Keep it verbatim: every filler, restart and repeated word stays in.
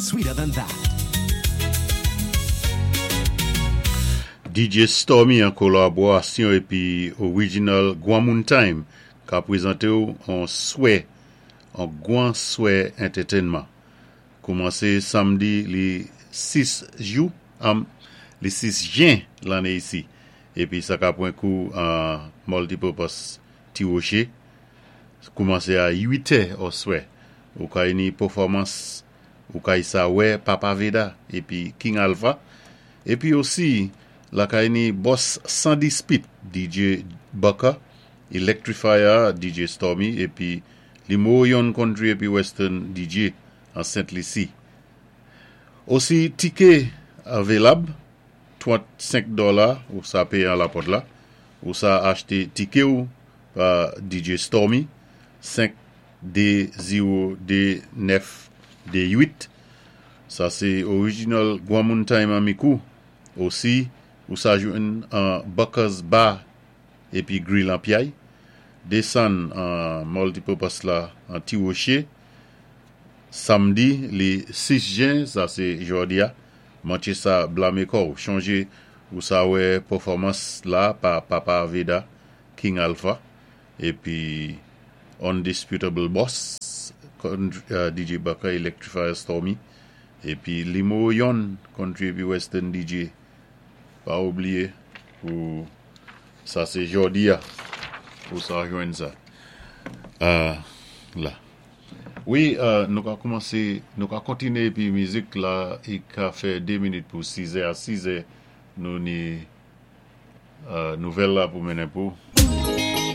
sweeter than that. D J Stormy an kolaborasyon épi Original Gwanmoun Time ka pwézanté-w an swé, an gwan swé entertainment. Koumansé samdi li sis jou, um, li sis jen lanné isi. Épi sa ka pwan kou an Multipurpose Ti Woché. Koumansé a uit è oswè. Ou kay ni pèfòmans, ou kay sa wè Papa Veda épi King Alpha. Épi osi lakay ni Boss San Dispit, D J Bucker, Electrifier, D J Stormy épi Limo Yon Country épi Western D J an Saint Lucie. Osi tiké avelab, trannsenk dola ou sa péyé an lapòt la, ou sa achté tiké ou pa D J Stormy, senk de zewo de nèf de uit. Sa sé Original Gwanmoun Time an Micoud. Osi, ou sa jwenn an Bucker's Bar épi Grill an Piaye. Désann an Multipurpose la an Ti Woché. Samdi li sis jen, sa sé jòdi a, manché sa blamé kò'w. Chonjé ou sa wè pèfòmans la pa Papa Veda, King Alpha, épi Undisputable Boss, D J Bucker, Electrifier Stormy, épi Limo Yon, Country épi Western D J. Pa oubliyé pou sa sé jòdi a, pou sa jwenn sa. Euh, la. Wi, euh, nou ka koumansé, nou ka kontiné épi mizik la, i ka fè dé minit pou sis è a sis è, nou ni euh, nouvèl la pou mennen pou.